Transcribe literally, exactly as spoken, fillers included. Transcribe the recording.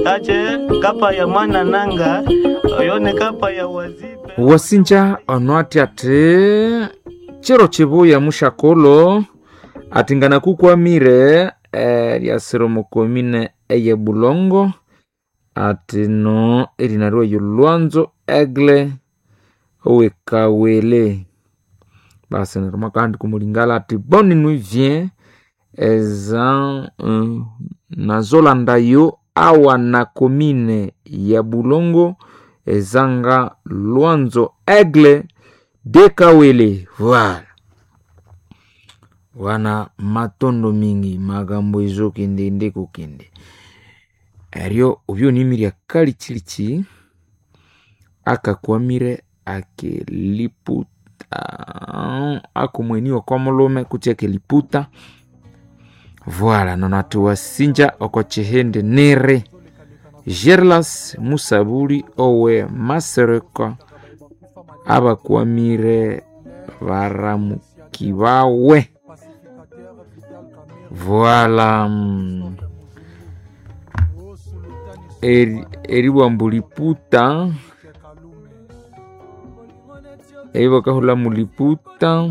Ache kapa ya mwana nanga oyone kapa ya wazipe Wasinja ono ati ati chiro chibuya mushakolo ati nganakukwamire eh, lyasira omo komine eye Bulongo ati no erina ryeyo Lwanzo Egle owekawele basi neryo mwakahandi kumulingala ati bonne nuit vient eza uh, nazolandayo awa na komine ya Bulongo ezanga Lwanzo Egle de Kawele voilà wana matondo mingi magambo ezokende nde kokende eryo obyonimirya kalichilichi akakwamire akeliputa akomweniwa kwa mulume kutsi akeliputa voila nono ati wasinja oko chihindi niri Gerlas Musabuli owe Masereka abakwamire baramuki bawe voila mm. Eri, eribwambu liputa eibakahula muliputa.